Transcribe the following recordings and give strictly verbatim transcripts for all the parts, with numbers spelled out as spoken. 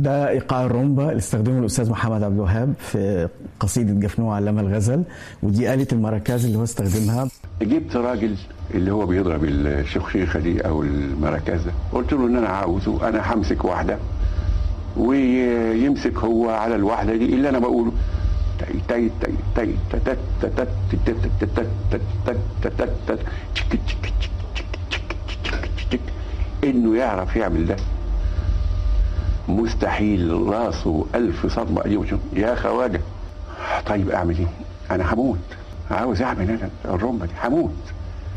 ده ايقاع الرومبا اللي استخدمه الاستاذ محمد عبد الوهاب في قصيدة جفنوه علم الغزل، ودي آلة المراكز اللي هو استخدمها. جبت راجل اللي هو بيضرب الشخشيخه دي او المراكز ده، قلت له ان انا عاوزه، انا همسك واحدة ويمسك هو على الواحدة دي اللي انا بقوله. تي تي تي تي تت تت تت تت تت تت تت تك تك تك تك تك، انه يعرف يعمل ده مستحيل. راسه ألف صدمة. يا خواجة طيب أعمل إيه؟ أنا هموت، عاوز أعمل أنا الرمبة دي، هموت.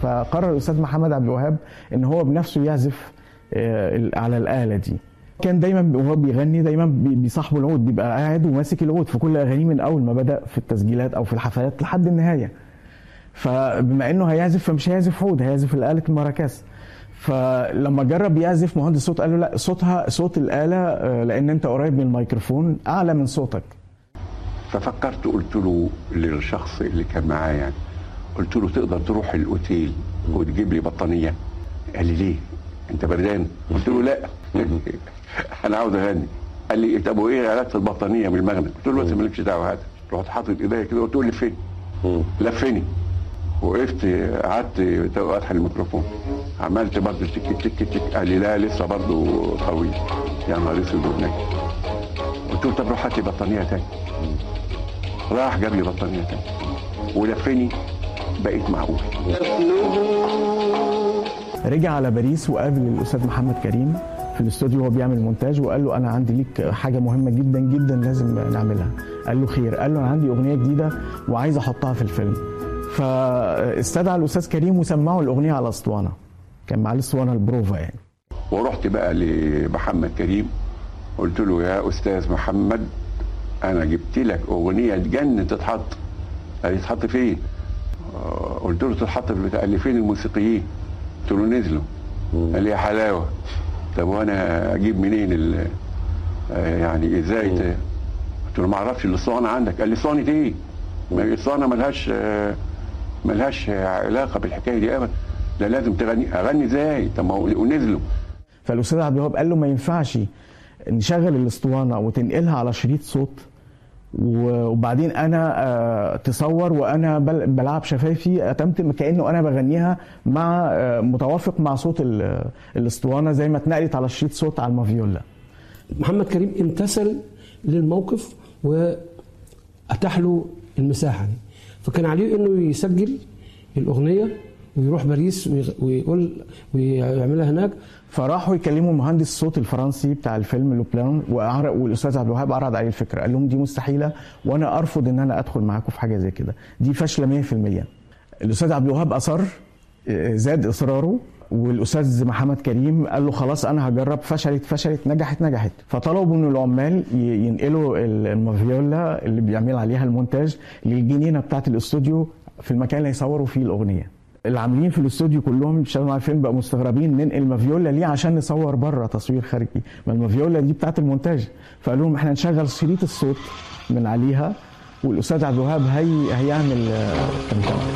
فقرر الأستاذ محمد عبد الوهاب إن هو بنفسه يعزف على الآلة دي. كان دايما وهو بيغني دايما بيصاحبه العود، بيبقى قاعد وماسك العود في كل أغانيه من أول ما بدأ في التسجيلات أو في الحفلات لحد النهاية. فبما إنه هيعزف فمش هيعزف عود، هيعزف الآلة المراكز. فلما جرب يعزف مهندس صوت قال له لا، صوتها صوت الآلة لأن أنت قريب من الميكروفون أعلى من صوتك. ففكرت قلت له للشخص اللي كان معايا يعني، قلت له تقدر تروح الأوتيل وتجيب لي بطانية؟ قال لي ليه؟ أنت بردان؟ قلت له لا أنا عاوز أغني. قال لي طب وإيه علاقة البطانية بالمغنى؟ قلت له بس مالكش دعوة، هات. رحت حاطط إيديا كده وقلت له لفني. لفني. وقفت قعدت فاتح الميكروفون، عملت برضه تك تك تك. قال لي لا لسه برضه قوي. يا نهار اسود ونجم. قلت له طب روح هات لي بطانيه تاني. راح جاب لي بطانيه تاني ولفني، بقيت معقول. رجع على باريس وقابل الاستاذ محمد كريم في الاستوديو وهو بيعمل مونتاج، وقال له انا عندي ليك حاجة مهمة جدا جدا لازم نعملها. قال له خير؟ قال له انا عندي اغنية جديدة وعايز احطها في الفيلم. فاستدعى الاستاذ كريم وسمعوا الاغنية على اسطوانة، كان معاه الاسطوانة البروفا يعني. ورحت بقى لمحمد كريم قلت له يا استاذ محمد انا جبت لك اغنية تجنن تتحط. قال لي تتحط فين؟ قلت له تتحط في البتاع. قال لي فين الموسيقيين؟ قلت له نزلوا. قال لي يا حلاوة، طب وانا اجيب منين ال يعني ازاي؟ قلت له ما اعرفش، الاسطوانة عندك. قال لي اسطوانة ايه؟ الاسطوانة ملهاش ملهاش علاقة بالحكاية دي ابدا، ده لازم تغني. اغني ازاي؟ طب ما هو ونزلوا. فالاستاذ عبد الوهاب قال له ما ينفعش نشغل الاسطوانة وتنقلها على شريط صوت وبعدين انا تصور وانا بلعب شفايفي اتمتم كانه انا بغنيها مع متوافق مع صوت الاسطوانة زي ما اتنقلت على شريط صوت على المافيولا. محمد كريم امتثل للموقف واتاح له المساحة دي، فكان عليه انه يسجل الاغنية ويروح باريس ويقول ويعملها هناك. فراحوا يكلموا مهندس الصوت الفرنسي بتاع الفيلم لوبلان، والاستاذ عبد الوهاب عرض عليه الفكرة، قال لهم دي مستحيلة وانا ارفض ان انا ادخل معاكم في حاجة زي كده، دي فاشلة مية في المية. الاستاذ عبد الوهاب اصر، زاد اصراره، والاستاذ محمد كريم قال له خلاص انا هجرب. فشلت فشلت، نجحت نجحت. فطلبوا من العمال ينقلوا المافيولا اللي بيعمل عليها المونتاج للجنينه بتاعه الاستوديو في المكان اللي هيصوروا فيه الاغنية. العاملين في الاستوديو كلهم بيشتغلوا على الفيلم بقوا مستغربين، ننقل مافيولا ليه عشان نصور بره تصوير خارجي؟ ما المافيولا دي بتاعه المونتاج. فقالوا لهم احنا نشغل شريط الصوت من عليها والاستاذ عبد الوهاب هي هيعمل تمتمه.